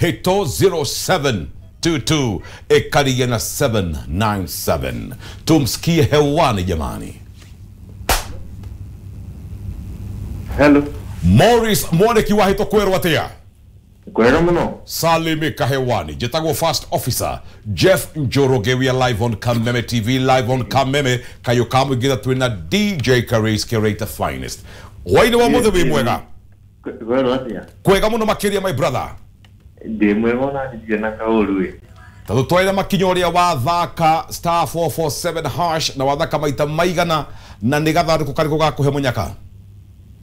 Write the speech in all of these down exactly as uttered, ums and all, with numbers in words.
Hito zero seven two two ekaria na seven nine seven. Tumsikie hewani jamani. Hello. Morris Mwaniki wa Hito kwerwo atia? Kwega muno. Salimika hewani. Jetagwo First Officer Jeff Njoroge. We are live on Kameme T V, live on Kameme Kayokamu githa twina D J Karis Curator Finest. Waini wa muthe wi mwega? Kwerwo atia? Kwega muno makiria my brother. Ndi mwega ona ndirĩ na kaũru ĩ. Tondũ twaira makinya ũrĩa wathaka star four four seven hash na wathaka maita maigana na nĩ gathandũkũ karĩkũ gakũhe mũnyaka?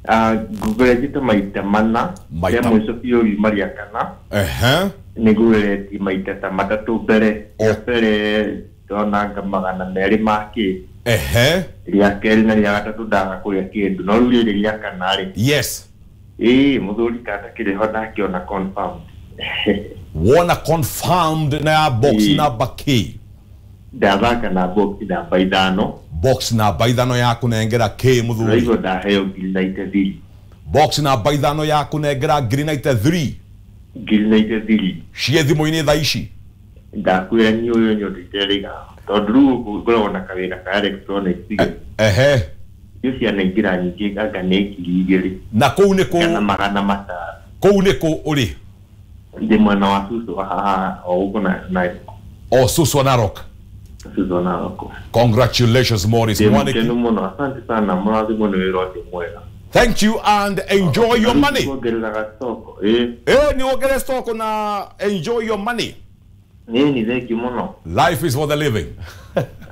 Ah, ngũgeretie maita mana. Maita rĩa mũico biũ riuma rĩa kana. Ehe. Nĩ ngũgeretie maita ta matatũ mbere. Rĩa mbere ndonanga magana merĩ ma kĩ. Ehe. Rĩa kerĩ na rĩa gatatũ ndaga kũrĩa kĩndũ. No rĩu rĩrĩ rĩa kana rĩ. Yes. Ĩĩ, mũthuri kata kĩrĩho ndakĩona confirmed. Wona confirmed na box Ĩĩ. number K. Ndathaka na box namba ithano. Box namba ithano ya kunengera K muthuri. Ndaigua ndaheo ngiri ninety three. Box namba ithano ya kunengera ngiri ninety three. Ngiri ninety three. Ciĩ thimũ-inĩ thaa ici. Ndakwĩra niĩ ũyũ nyondete rĩga. Tondũ rĩu gũkũ ngoragwo na kawĩra ka electronics. Ehe. Icio cianaingĩra nyingĩ anga nĩ ngiri igĩrĩ. Na kũu nĩ kũ? Kana magana matano. Kũu nĩ kũ ũrĩ? Ndĩ mwena wa Suswa haha o gũkũ na Narok. O Suswa Narok. Suswa Narok. Congratulations Morris Ndĩ Mwaniki. mũkenu mũno, asante sana, mũrathimwo nĩ wĩra ũcio mwega. Thank you and enjoy your money. Kuongerera gacoko, ĩ. Eh, ni wongerere stock na enjoy your money. Nĩ ni thank you mũno. Life is for the living.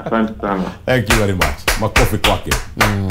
Asante sana. Thank you very much. Makofi kwake. Mm.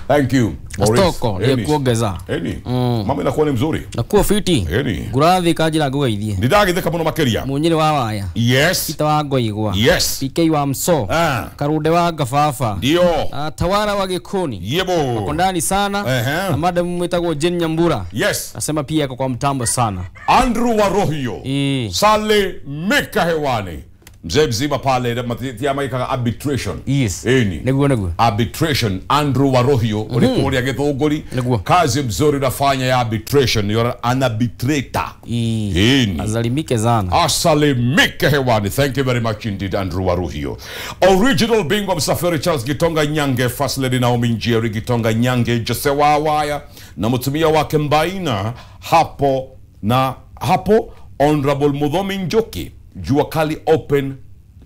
Thank you. Stoko ya kuongeza. Eni. Mm. Mama inakuwa ni mzuri. Nakuwa fiti. Eni. Ngurathi kanjira ngugeithie. Ndidagitheka muno makiria. Munyiri wa waya. Yes. Peter wa Ngoigwa. Yes. P K wa Mso. Ah. Karunde wa Ngababa. Ndio. Ah, Tawara wa Gikoni. Yebo. Wako ndani sana. Uh-huh. Na madam mwitagwo Jane Nyambura. Yes. Nasema pia yako kwa mtambo sana. Andrew Warohio. E. Sale Mika hewani. Mzee mzima pale matia maika arbitration. Yes. Eni. Neguo neguo. Arbitration Andrew Warohio mm -hmm. Ulikuwa Githunguri. Neguo. Kazi mzuri unafanya ya arbitration. You're an arbitrator. Eni. Azalimike sana. Asalimike hewani. Thank you very much indeed Andrew Warohio. Original bingwa msafiri Charles Gitonga Nyange, First Lady Naomi Njeri Gitonga Nyange, Jose Wawaya na mtumia wake Mbaina hapo na hapo Honorable Muthomi Njoki. Jua Kali open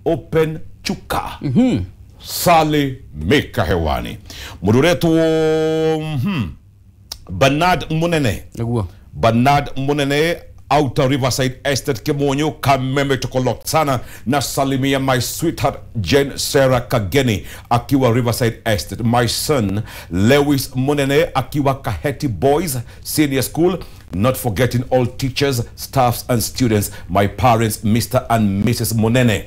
open chuka. Mm-hmm. Sale Meka hewani. Muduretu mm-hmm. Bernard Munene. Naguo. Bernard Munene Outer Riverside Estate Kimonyo Kameme tukolok sana na salimia my sweetheart Jane Sarah Kageni akiwa Riverside Estate, my son Lewis Munene akiwa Kaheti Boys Senior School, not forgetting all teachers, staffs and students, my parents Mister and Missus Munene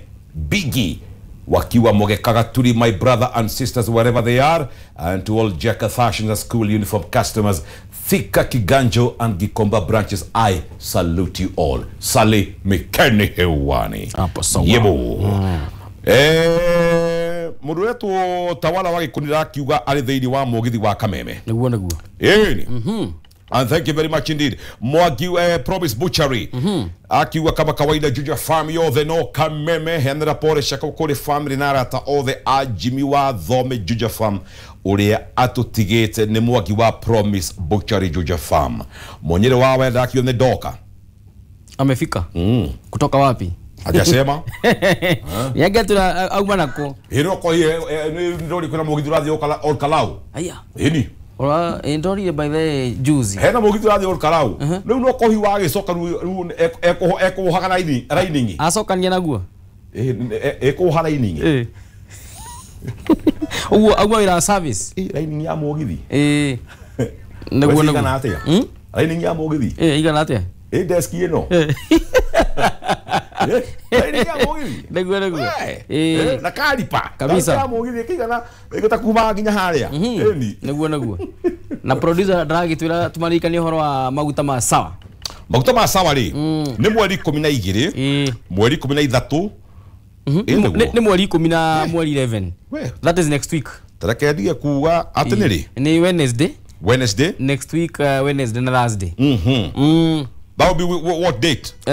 Biggie wakiwa Mogekagaturi, my brother and sisters wherever they are, and to all Jacka Fashion School uniform customers, Thika Kiganjo and Gikomba branches, I salute you all. Sale Mikeni hewani. Hapo sawa. Yebo. Mm. Eh, mundu wetu Tawala wa Gikundi akiuga ari thiini wa mugithi wa Kameme. Niguo niguo. Ĩni. Mhm. And thank you very much indeed. Mwagi eh, Promise Butchery. Mm-hmm. Akiuga kama kawaida Juja Farm yothe no Kameme henera pore shaka kuri family na arata othe a Jimmy wa Thome Juja Farm uria atutigite ni Mwagi wa Promise Butchery Juja Farm. Mwenyere wa wenda akio ni doka. Amefika? Mm. Kutoka wapi? Hajasema. Yage tuna auma nako. Hino ko hi ni ndori kuna mugithi urathi Olkalau. Aya. Hini. Ora ndori by the juzi. Hena mugithi urathi Olkalau. Riu no kohi wa gicoka riu eko eko raini rainingi. Acokania naguo. Eh eko rainingi. Eh. Uguo aguo ira service. Eh rainingi ya mugithi. Eh. Naguo naguo. Igana atia? Rainingi ya mugithi. Eh igana atia? Eh desk ino. Eh. Rainingi ya mugithi. Naguo naguo. Eh na karipa. Kabisa. Ya mugithi kigana igota kuma nginya haria. Eni. Naguo naguo. Na producer ndagitwira tumarikanie horo wa maguta ma sawa. Maguta ma sawa ri ni mweri ikumi na igiri. Mweri ikumi na ithatu. Ni mweri ikumi na mweri eleven. That is next week. Tareke ndige kuga ati ni ri? Ni Wednesday. Wednesday. Next week uh, Wednesday na Thursday. Mhm. Mm. That will be wh- what date? Eh,